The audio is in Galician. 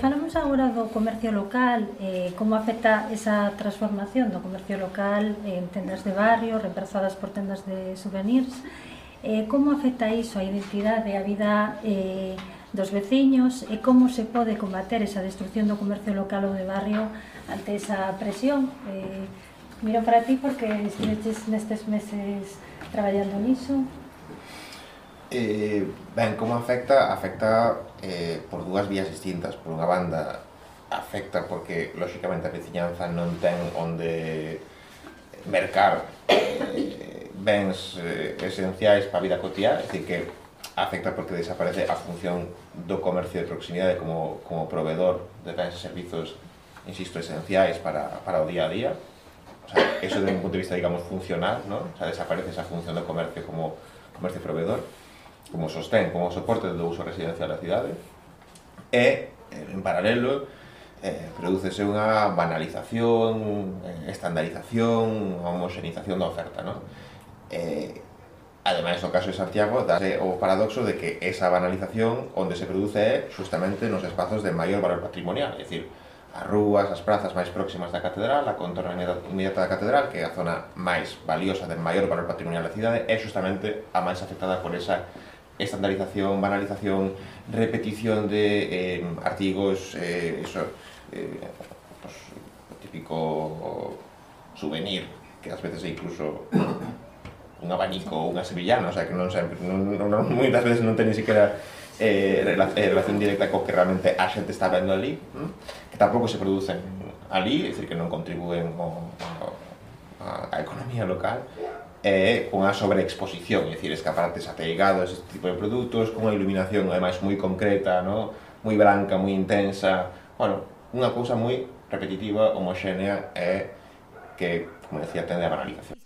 Falamos agora do comercio local, como afecta esa transformación do comercio local en tendas de barrio, reemplazadas por tendas de souvenirs. Como afecta iso a identidade, a vida dos veciños e como se pode combater esa destrucción do comercio local ou de barrio ante esa presión? Miro para ti porque estiveches nestes meses traballando niso. Ben, como afecta? Afecta por dúas vías distintas. Por unha banda, afecta porque, lóxicamente, a veciñanza non ten onde mercar bens esenciais para a vida cotiá, é dicir, que afecta porque desaparece a función do comercio de proximidade como proveedor de bens e servizos, insisto, esenciais para o día a día. O sea, eso desde un punto de vista, digamos, funcional, ¿no? O sea, desaparece esa función do comercio como comercio proveedor, como sostén, como soporte do uso residencial da cidade. E, en paralelo, prodúcese unha banalización, estandarización, homoxenización da oferta, ¿no? Ademais, no caso de Santiago, dase o paradoxo de que esa banalización onde se produce é justamente nos espazos de maior valor patrimonial, é dicir, as rúas, as prazas máis próximas da catedral, a contorna inmediata da catedral, que é a zona máis valiosa, de maior valor patrimonial da cidade, é justamente a máis afectada por esa estandarización, banalización, repetición de artigos, pues, o típico souvenir, que ás veces é incluso un abanico ou unha sevillana, o sea, que non sempre, moitas veces non ten ni siquiera relación directa co que realmente a xente está vendo ali, que tampouco se producen ali, é dicir, que non contribúen á economía local, con a sobreexposición, é dicir, escaparates ateigados, este tipo de produtos, con unha iluminación ademais moi concreta, ¿no? Moi branca, moi intensa, bueno, unha cousa moi repetitiva, homoxénea e que, como decía, tende a banalización.